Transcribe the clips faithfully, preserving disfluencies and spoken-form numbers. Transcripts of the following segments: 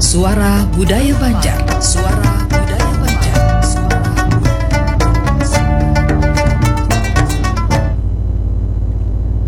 Suara Budaya Banjar. Suara Budaya Banjar. Suara Budaya Banjar.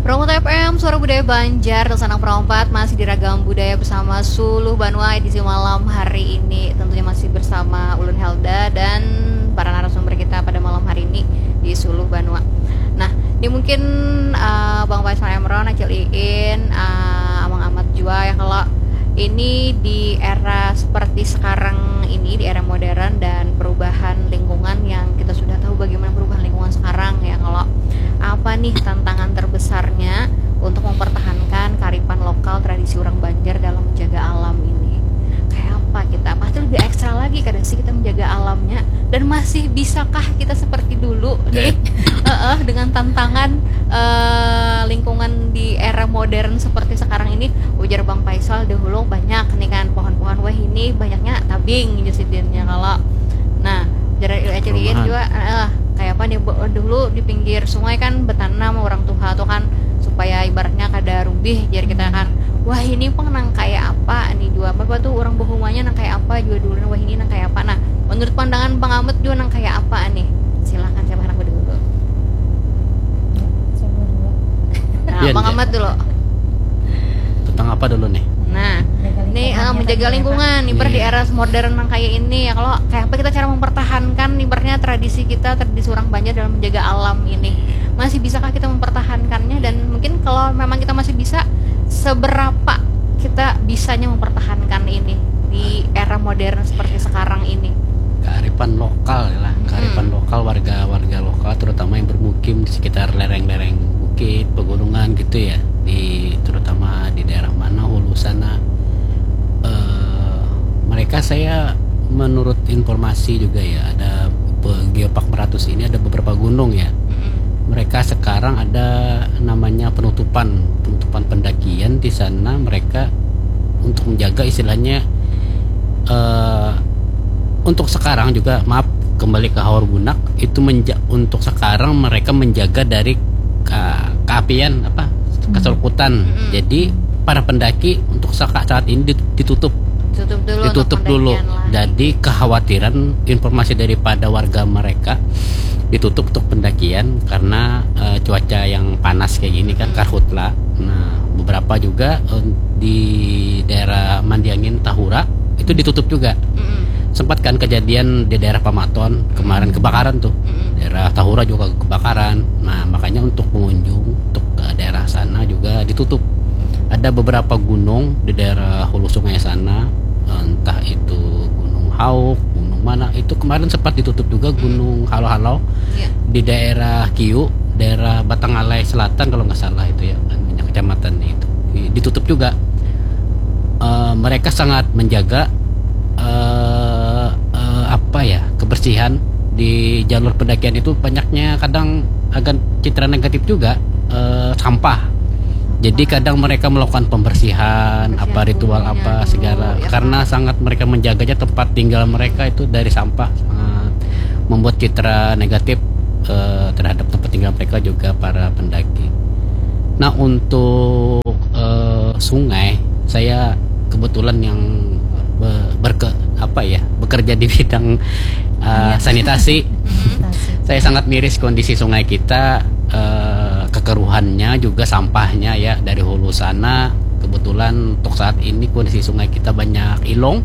Promo T F M, Suara Budaya Banjar, Sanang Perompat, masih di Ragam Budaya bersama Suluh Banua edisi malam hari ini. Tentunya masih bersama Ulun Helda dan para narasumber kita pada malam hari ini di Suluh Banua. Nah, ini mungkin uh, Bang Faisal Emron, Acil Iin, uh, Amang Amat jua ya, kalau ini di era seperti sekarang ini, di era modern dan perubahan lingkungan yang kita sudah tahu bagaimana perubahan lingkungan sekarang ya, kalau apa nih tantangan terbesarnya untuk mempertahankan kearifan lokal, tradisi orang Banjar dalam menjaga alam ini? Kayak apa kita? Pasti lebih ekstra lagi kada sih kita menjaga alamnya, dan masih bisakah kita seperti dulu nih? Heeh, dengan tantangan eh, lingkungan di era modern seperti sekarang ini, ujar Bang Faisal, dahulu banyak nih kan pohon-pohon, wah ini banyaknya tabing, ujar sidinnya kalau. Nah, ujar Acil Iin juga, eh, kayak apa nih, dulu di pinggir sungai kan betanam orang tuha tuh kan, supaya ibaratnya kada rubih, jar kita kan. Wah ini pang nang kayak apa nih jua, apa tuh orang bahumanya nang kayak apa jua dulu, wah ini nang kayak apa. Nah, menurut pandangan Bang Amat jua nang kayak apa nih? Silakan, siapa yang dulu? Nah, Bang Amat dulu. Tentang apa dulu nih? Nah, ini uh, menjaga lingkungan, ibarat di era modern yang kayak ini ya. Kalau kayak apa kita cara mempertahankan ibaratnya tradisi kita, tradisi orang Banjar dalam menjaga alam ini? Masih bisakah kita mempertahankannya? Dan mungkin kalau memang kita masih bisa, seberapa kita bisanya mempertahankan ini di era modern seperti sekarang ini? Kearifan lokal ya lah, kearifan lokal, warga-warga lokal, terutama yang bermukim di sekitar lereng-lereng bukit, pegunungan gitu ya, di terutama di daerah mana, hulu sana. Eh, mereka, saya menurut informasi juga ya, ada Geopark Meratus ini ada beberapa gunung ya. Mereka sekarang ada namanya penutupan, penutupan pendakian di sana. Mereka untuk menjaga istilahnya, eh, untuk sekarang juga, maaf, kembali ke Hawar Bunak itu menja-, untuk sekarang mereka menjaga dari ka-, keapian apa, keseruputan. Jadi para pendaki untuk saka-, saat ini dit-, ditutup. Ditutup dulu. Ditutup untuk dulu. pendakian lah. Jadi kekhawatiran, informasi daripada warga mereka ditutup untuk pendakian karena eh, cuaca yang panas kayak gini kan, karhutla. Nah, beberapa juga eh, di daerah Mandiangin, Tahura itu ditutup juga. Mm-mm. Sempat kan kejadian di daerah Pamaton kemarin, kebakaran tuh. Mm-mm. Daerah Tahura juga kebakaran. Nah, makanya untuk pengunjung untuk ke daerah sana juga ditutup. Ada beberapa gunung di daerah hulu sungai sana, entah itu Gunung Hauk, gunung mana, itu kemarin sempat ditutup juga, Gunung Halau-Halau. Iya. Di daerah Kiu, daerah Batangalai Selatan kalau nggak salah itu ya, namanya kecamatannya itu. Di-, ditutup juga. Eh, mereka sangat menjaga eh, eh, apa ya, kebersihan di jalur pendakian itu. Banyaknya kadang agak citra negatif juga, eh, sampah. Jadi kadang mereka melakukan pembersihan, Pembersihan apa, ritual gunungnya apa dulu, segala, ya karena kan? Sangat mereka menjaganya tempat tinggal mereka itu dari sampah, sangat membuat citra negatif eh, terhadap tempat tinggal mereka juga para pendaki. Nah, untuk eh, sungai, saya kebetulan yang be- berke apa ya, bekerja di bidang eh, sanitasi. Saya sangat miris kondisi sungai kita, eh, kekeruhannya juga sampahnya ya, dari hulu sana. Kebetulan untuk saat ini kondisi sungai kita banyak ilong.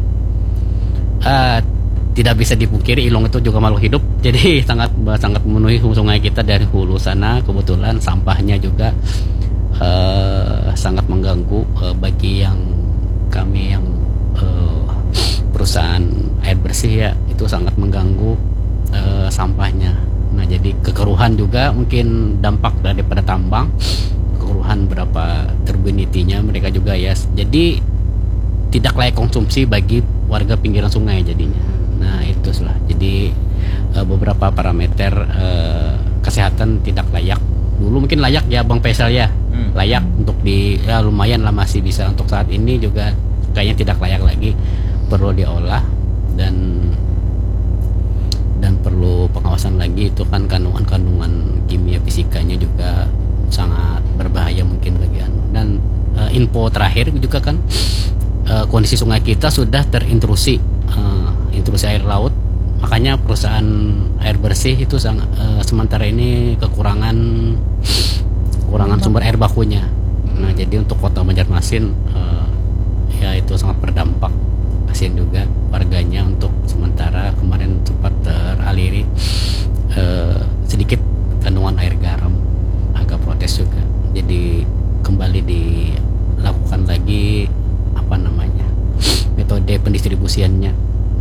Eh, tidak bisa dipungkiri, ilong itu juga makhluk hidup. Jadi sangat sangat memenuhi sungai kita dari hulu sana. Kebetulan sampahnya juga eh, sangat mengganggu eh, bagi yang kami yang eh, perusahaan air bersih ya, itu sangat mengganggu eh, sampahnya. Nah, jadi kekeruhan juga mungkin dampak daripada tambang, kekeruhan berapa turbidity-nya mereka juga ya. Jadi tidak layak konsumsi bagi warga pinggiran sungai jadinya. Nah, itu lah. Jadi eh, beberapa parameter eh, kesehatan tidak layak. Dulu mungkin layak ya, Bang Faisal ya. Hmm. Layak untuk di, ya, lumayan lah, masih bisa. Untuk saat ini juga kayaknya tidak layak lagi, perlu diolah dan dan perlu pengawasan lagi. Itu kan kandungan-kandungan kimia fisikanya juga sangat berbahaya mungkin bagi anu. Dan eh, info terakhir juga kan eh, kondisi sungai kita sudah terintrusi, eh, intrusi air laut. Makanya perusahaan air bersih itu sang- eh, sementara ini kekurangan kekurangan sumber air bakunya. Nah, jadi untuk kota Banjarmasin, eh, ya, itu sangat berdampak. Kasihan juga warganya untuk sementara kemarin sempat teraliri, eh, sedikit kandungan air garam, agak protes juga. Jadi kembali dilakukan lagi, apa namanya, metode pendistribusiannya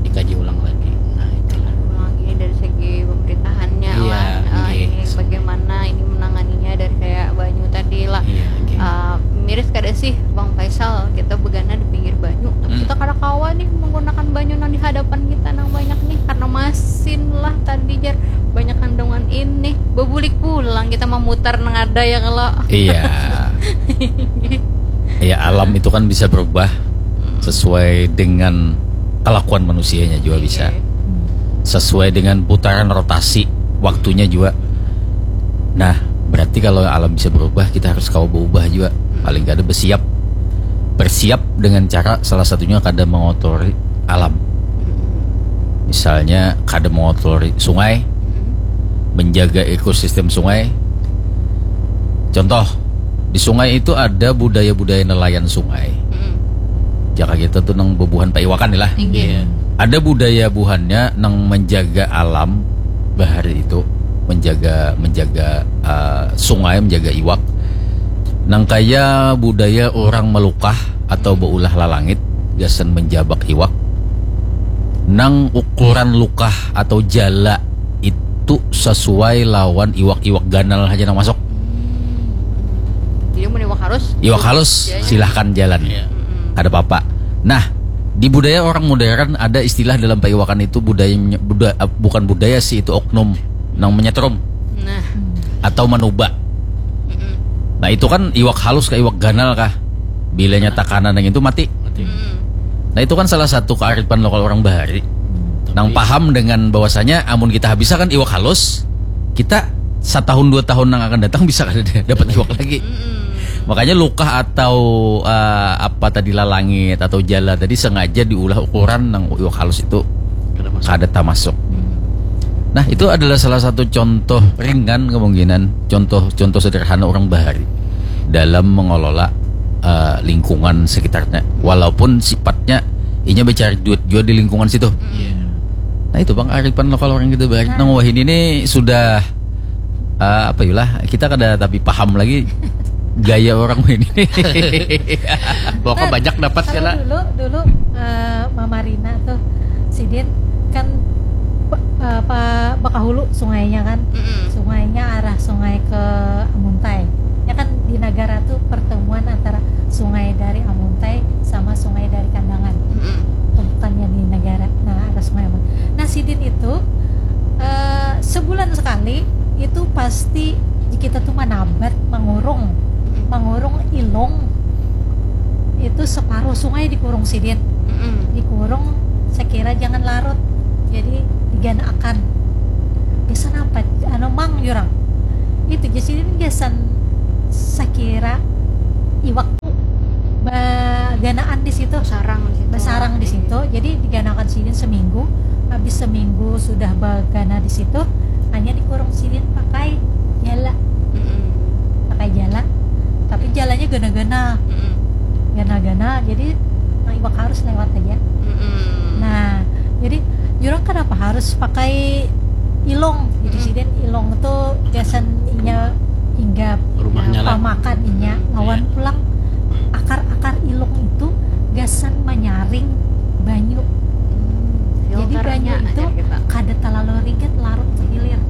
dikaji ulang lagi. Nah, itulah. Ulang lagi dari segi pemerintahannya Iya, lah. Eh, nggih. Ini bagaimana ini menanganinya dari kayak banyu tadi lah. Iya, nggih. Eh, miris kada sih, Bang Faisal, kita begana di pinggir banyu, tapi Hmm. kita kada kawa nih menggunakan banyu nang di hadapan kita nang banyak nih, karena masin lah tadi, jar, banyak kandungan ini. Bebulik pulang kita memutar nang ada, ya kalau. Iya. Ya, alam itu kan bisa berubah sesuai dengan kelakuan manusianya juga bisa. Sesuai dengan putaran rotasi waktunya juga. Nah, berarti kalau alam bisa berubah, kita harus kawa berubah juga. Paling kada bersiap. Bersiap dengan cara salah satunya kada mengotori alam. Misalnya kada mengotori sungai, menjaga ekosistem sungai. Contoh, di sungai itu ada budaya-budaya nelayan sungai. Mm-mm. Jaka kita tuh nang bebuhan paiwakan lah. Inggih. Ada budaya buhannya nang menjaga alam bahari itu, menjaga menjaga uh, sungai, menjaga iwak. Nang kaya budaya orang melukah atau beulah lalangit gasan menjabak iwak. Nang ukuran lukah atau jala itu sesuai lawan iwak-iwak ganal aja nang masuk. Jadi mun iwak halus. Iwak halus, Ya, ya. Silahkan jalan. Iya. Mm-mm. Kada apa-apa. Nah, di budaya orang modern ada istilah dalam paiwakan itu budaya buda, bukan budaya sih, itu oknum nang menyetrum Nah. atau manuba. Mm-mm. Nah, itu kan iwak halus kah, iwak ganal kah? Bilanya takanan yang itu mati. Mati. Mm-mm. Nah, itu kan salah satu kearifan lokal orang bahari. Nang paham dengan bahwasanya amun kita habiskan iwak halus, kita setahun dua tahun yang akan datang bisa kada dapat iwak lagi. Mm-mm. Makanya lukah atau uh, apa tadi, lalangit atau jala tadi sengaja diulah ukuran nang iwak halus itu Kada masuk. kada tamasuk. Nah, itu adalah salah satu contoh ringan kemungkinan, contoh contoh sederhana orang bahari dalam mengelola uh, lingkungan sekitarnya. Walaupun sifatnya inya mencari duit juga di lingkungan situ. Iya. Nah, itu bang kearifan lokal orang kita bahari. Nang wahini ini sudah uh, apa yulah, kita kada tapi paham lagi gaya orang wahini. Pokoknya banyak dapat Kalau kena. Dulu dulu eh, Mama Rina tuh, sidin kan pe- eh, pa- bakahulu sungainya kan, Mm-mm. sungainya arah sungai ke Amuntai. Ya kan, di Nagara tuh pertemuan antara sungai dari Amuntai sama sungai dari Kandangan. Mm-mm. Tumpukannya di Nagara, nah, arah sungai Amuntai. Nah, sidin itu eh, sebulan sekali itu pasti kita tuh manabat, mangurung, mangurung ilung. Itu separuh sungai dikurung sidin. Mm-mm. Dikurung sekira jangan larut, jadi diganaakan. Gasan apa? Anu, mang, jurang. Itu ja sidin gasan sekira iwak tu baganaan di situ. Sarang di situ. Basarang di situ. Jadi diganaakan sidin seminggu. Habis seminggu sudah bagana di situ, hanya dikurung sidin pakai jala. Mm-mm. Pakai jala. Tapi jalanya gana-gana. Mm-mm. Gana-gana. Jadi nah, iwak harus lewat aja. Mm-mm. Nah, jadi jurang kenapa harus pakai ilung? Jadi sidin ilung tuh gasan inya hinggap, Rumahnya lah. Pamakan inya. Lawan pulang akar-akar ilung itu gasan manyaring banyu. Jadi banyu itu kada terlalu ringat larut ke hilir.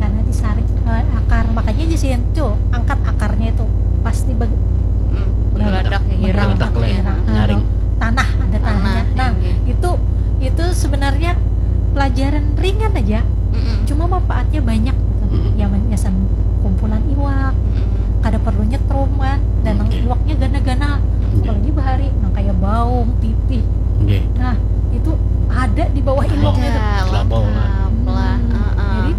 Karena disaring eh, akar, makanya aja sih itu angkat akarnya itu pasti bag- Bergeladak ke hirang. Bergeladak lah ya, Nah, nyaring. Tanah, ada tanahnya. Nah, itu itu sebenarnya pelajaran ringan aja, cuma manfaatnya banyak gitu. Ya, men- gasan kumpulan iwak, kada perlu nyetrum kan, dan nang iwaknya gana-gana, apalagi bahari, nang kayak baung, pipih. Oke. Nah, itu ada di bawah ilungnya tuh. Ada, lengkap lah. Hmm. Heeh. Jadi,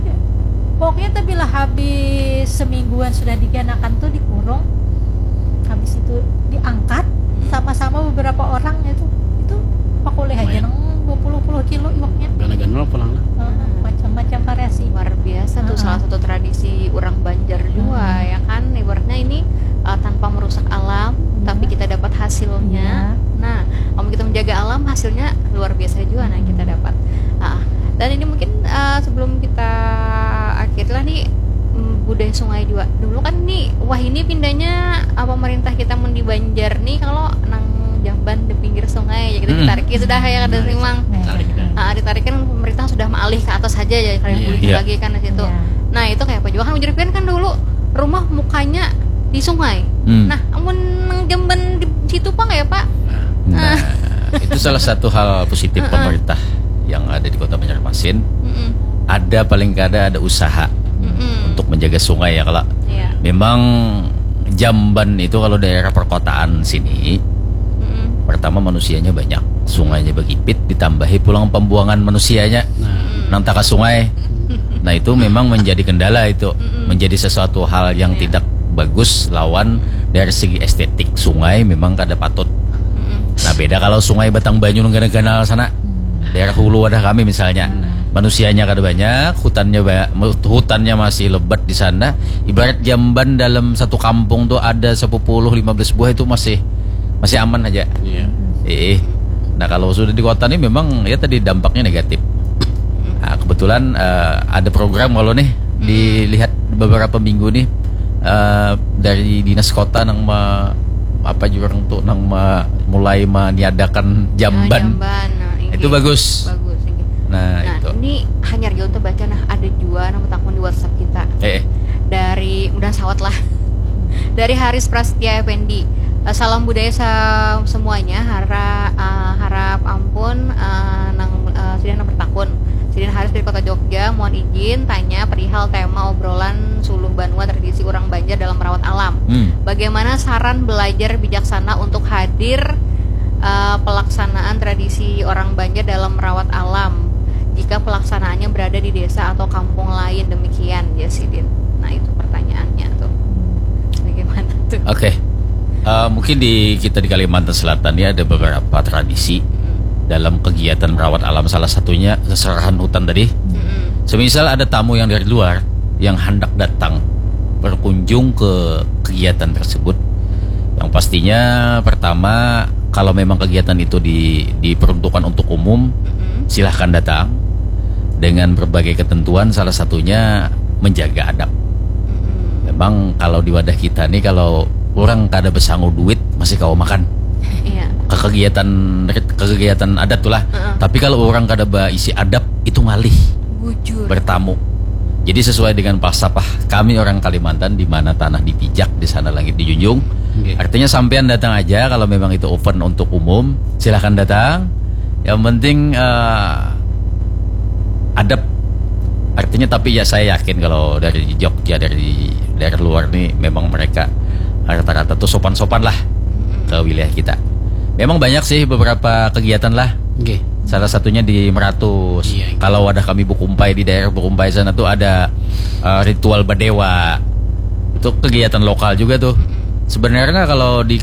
pokoknya tuh bila habis semingguan sudah diganakan tuh dikurung, habis itu diangkat sama-sama beberapa orang kilo iwaknya. Gana-gana lah pulang lah. Heeh, macam-macam variasi. Luar biasa tuh, heeh, salah satu tradisi orang Banjar juga, hmm, ya kan? Ibaratnya ini, eh, tanpa merusak alam, iya, tapi kita dapat hasilnya. Iya. Nah, kalau kita menjaga alam, hasilnya luar biasa juga, nah, yang kita dapat. Ah, dan ini mungkin, eh, sebelum kita akhiri lah nih, mm, budaya sungai juga. Dulu kan nih, wah, ini pindahnya, ah, pemerintah kita mun di Banjar nih, kalau nang jamban di pinggir sungai, ya kita, hmm, ditarik ya sudah, ya kada, hmm, sih, Mang. Tarik dah. Ah, ditarik kan pemerintah sudah maalih ke atas saja ya, kalian, iya, beli, iya, lagi kan di situ. Iya. Nah, itu kayak apa juga kan, ujar pian kan dulu rumah mukanya di sungai. Hmm. Nah, amun nang jamban di situ, Pak, ya, Pak? Nah, itu salah satu hal positif, heeh, pemerintah yang ada di Kota Banjarmasin. Mm-mm. Ada, paling kada ada usaha, mm-mm, untuk menjaga sungai ya, kalau, iya, memang jamban itu kalau daerah perkotaan sini, mm-mm, pertama manusianya banyak, sungainya begipit, ditambahi pulang pembuangan manusianya, nah, nang taka sungai. Nah, itu memang menjadi kendala itu, mm-mm, menjadi sesuatu hal yang, iya, tidak bagus lawan dari segi estetik sungai memang kada patut. Mm-mm. Nah, beda kalau sungai Batang Banyu nang ganal-ganal sana, hmm, daerah hulu wadah kami misalnya. Hmm. Manusianya kada banyak, hutannya ba-, hutannya masih lebat di sana. Ibarat jamban dalam satu kampung tuh ada sepuluh, lima belas buah, itu masih, masih aman aja. Iya. Eh, nah, kalau sudah di kota nih memang ya tadi dampaknya negatif. Nah, kebetulan, eh, ada program kalau nih, hmm, dilihat beberapa minggu nih, eh, dari dinas kota nang me-, apa jurang tuh, nang me-, mulai meniadakan jamban. Oh, jamban. Nah, itu bagus. Bagus, iya. Nah, nah, itu. Ini hanyar jauh terbaca, nah, ada jua nang betakun di WhatsApp kita. Eh, eh. Dari, mudah sawat lah. Dari Haris Prasetya Effendi. Eh, salam budaya sa-, semuanya. Hara-, eh, harap ampun, eh, nang, eh, sidin nang bertakun. Sidin Haris dari Kota Jogja, mohon izin tanya perihal tema obrolan suluh banua tradisi urang Banjar dalam merawat alam. Hmm. Bagaimana saran belajar bijaksana untuk hadir, eh, pelaksanaan tradisi orang Banjar dalam merawat alam jika pelaksanaannya berada di desa atau kampung lain, demikian, ya, sidin. Nah, itu pertanyaannya tuh. Bagaimana tuh? Oke. Eh, mungkin di, kita di Kalimantan Selatan ini ada beberapa tradisi, hmm, dalam kegiatan merawat alam, salah satunya seserahan hutan tadi. Hmm. Semisal ada tamu yang dari luar yang hendak datang berkunjung ke kegiatan tersebut, yang pastinya pertama, kalau memang kegiatan itu di-, diperuntukkan untuk umum, mm-mm, silahkan datang dengan berbagai ketentuan, salah satunya menjaga adab. Mm-mm. Memang kalau di wadah kita nih, kalau orang kada besangu duit, masih kawa makan. Iya. Ke kegiatan, ke kegiatan adat tuh lah. Heeh. Tapi kalau orang kada baisi adab, itu ngalih. Bujur. Bertamu. Jadi sesuai dengan falsafah kami orang Kalimantan, di mana tanah dipijak, di sana langit dijunjung. Oke. Artinya sampean datang aja kalau memang itu open untuk umum, silahkan datang. Yang penting, eh, adab. Artinya, tapi ya saya yakin kalau dari Jogja, dari daerah luar nih, memang mereka rata-rata tuh sopan-sopan lah ke wilayah kita. Memang banyak sih beberapa kegiatan lah. Oke. Salah satunya di Meratus. Iya, iya. Kalau wadah kami Bukumpai, di daerah Bukumpai sana tuh ada, eh, ritual badewa. Itu kegiatan lokal juga tuh. Sebenarnya kalau di